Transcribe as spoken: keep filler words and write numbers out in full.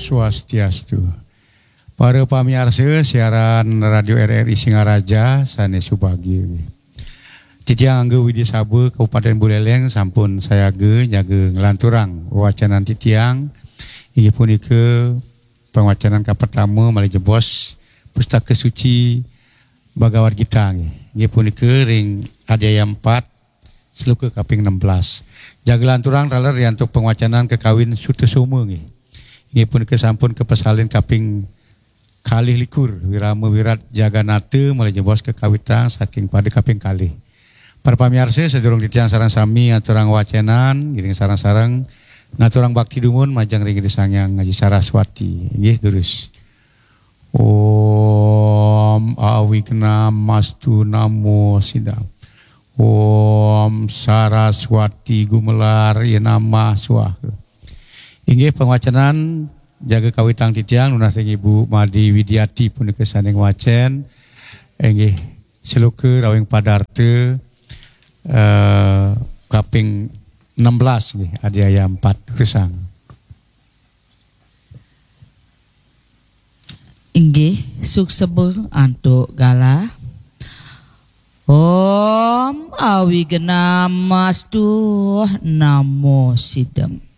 Swastiastu. Para pamiarsa siaran Radio R R I Singaraja sané subagia. Titiang Angga Widya Saba, Kabupaten Buleleng, sampun sayaga nyaga nglanturang wacanan titiang, inggih punika pangwacanan kapertama malih jebos Pustaka Suci Bhagavad Gita nggih. Inggih punika ring adhyaya empat, sloka kaping enam belas. Jaga lanturang taler ri antuk pangwacanan kakawin Sutasoma nggih. Inggih punika sampun kapasalin kaping kalih likur, Wirama Wirat Jaganata malih jebos kakawitang saking pada kaping kalih. Para pamiarsa, sadurung titiang sareng sami aturang wacanan, ngiring sareng-sareng ngaturang bakti dumun majeng ring Ida Sang Hyang Aji Saraswati. Inggih, durus. Om Awignamastu Namo Sidam. Om Saraswati Gumelar Yenamah Swaha. Inggih, pangwacanan jaga kawitang titiang nunas ring Ibu Made Widiati punika sané ngwacén. Inggih, sloka rawing padarta, eh, kaping enam belas nggih, adhyaya empat, durusang. Inggih, suksma antuk galah. Om Awignamastu Namo Sidam.